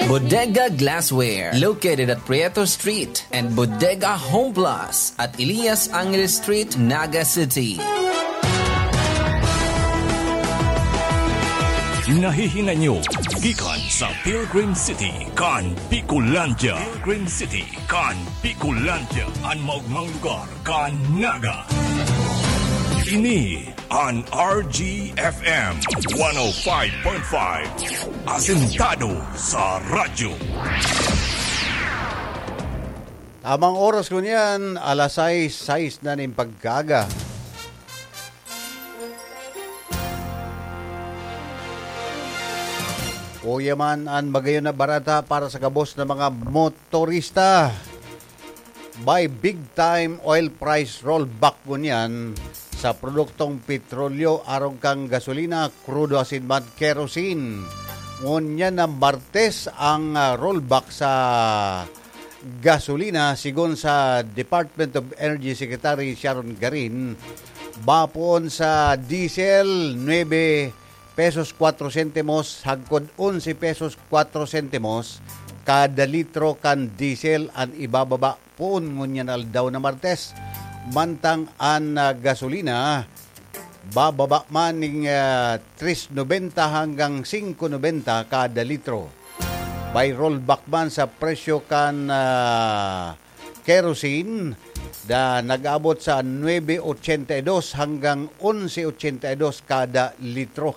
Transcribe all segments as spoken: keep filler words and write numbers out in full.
Bodega Glassware, located at Prieto Street, and Bodega Home Plus at Elias Angeles Street, Naga City. Nahihinay nyo gikan sa Pilgrim City kan Bicolandia. Pilgrim City kan Bicolandia, an maogmang lugar kan Naga. Ini an R G F M one oh five point five, asentado sa radyo. Tamang oras ko niyan, alas sais, sais na nin pagkaaga. Kuya man an magayon na barata para sa gabos na mga motorista. May big time oil price rollback ngunyan sa produktong petrolyo, arog kan gasolina, krudo asin man kerosene. Ngunyan na Martes ang, ah, rollback sa gasolina, sigon sa Department of Energy Secretary Sharon Garin, bapoon sa diesel, nuebe pesos kwatro sentimos hagkod onse pesos kwatro sentimos kada litro kan diesel an ibababa poon ngunyan aldaw na Martes. Mantang an, ah, gasolina, bababa man ning, ah, tres nobenta hanggang singko nobenta kada litro. May rollback man sa presyo kan, ah, kerosene na nag-abot sa nuebe ochenta y dos hanggang onse ochenta y dos kada litro.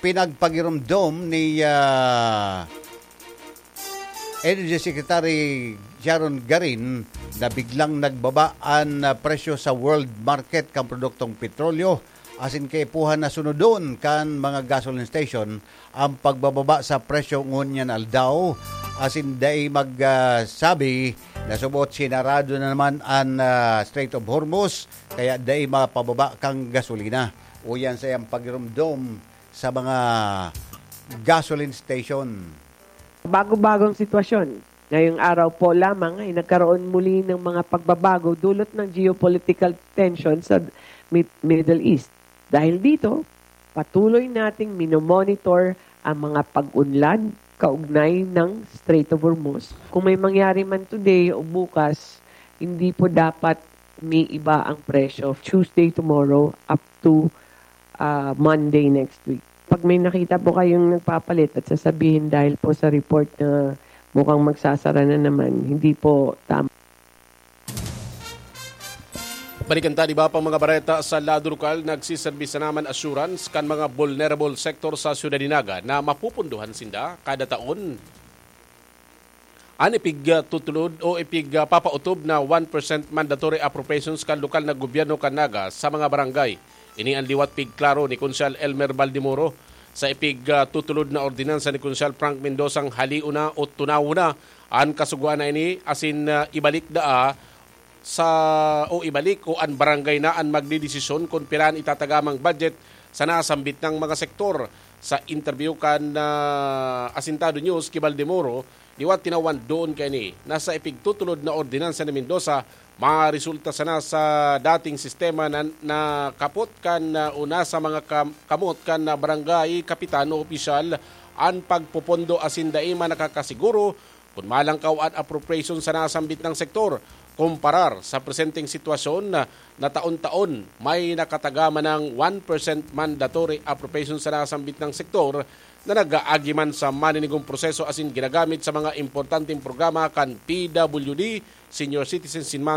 Pinagpagiromdom ni, ah, Energy Secretary Sharon Garin na biglang nagbaba an, ah, presyo sa world market kan produktong petrolyo, asin kaipuhan na sunodon kan mga gasoline station ang pagbababa sa presyo ngunyan aldaw, asin dai mag, ah, sabi na subot sinarado na naman an, ah, Strait of Hormuz, kaya dai mapababa kan gasolina. Uyan sa iyang pagiromdom sa mga gasoline station. Bago-bagong sitwasyon. Ngayong araw po lamang ay nagkaroon muli ng mga pagbabago dulot ng geopolitical tension sa Mid-, Middle East. Dahil dito, patuloy nating minomonitor ang mga pag-unlad kaugnay ng Strait of Hormuz. Kung may mangyari man today o bukas, hindi po dapat umiiba ang presyo. Tuesday tomorrow up to, ah, Monday next week. Pag may nakita po kayong nagpapalit at sasabihin dahil po sa report na mukhang magsasara na naman, hindi po tama. Balikan ta, di ba, pang mga bareta sa lado lokal, nagsiserbi sa naman assurance kan mga vulnerable sector sa Syudad de Naga na mapupunduhan sinda kada taon. An ipigtutulod o ipig, ah, papautob na one percent mandatory appropriations kan lokal na gobyerno kan Naga sa mga barangay. Ini an liwat pigklaro ni Konsehal Elmer Baldemoro sa ipig, ah, tutulod na ordinansa ni Konsehal Frank Mendozang halion na o tunawon na an kasugoan na ini asin, ah, ibalik daa sa, o ibalik o an barangay na an magdedesisyon kun pira an itatagamang budget sa nasambit nang mga sektor. Sa interview kan, ah, Asintado News ki Baldemoro, liwat tinawan doon kaini na sa ipigtutulod na ordinansa ni Mendoza, maresulta sana sa dating sistema na, na kapot kan, ah, o nasa mga kam-, kamot kan, ah, barangay kapitan o opisyal an pagpopondo asin dai man nakakasiguro kun malangkaw an appropriation sa nasambit nang sektor, kumparar sa presenteng sitwasyon na, na taon-taon may nakatagama ng one percent mandatory appropriation sa nasambit nang sektor na nag-aagi man sa maninigong proseso asin ginagamit sa mga importanteng programa kan P W D, senior citizens in man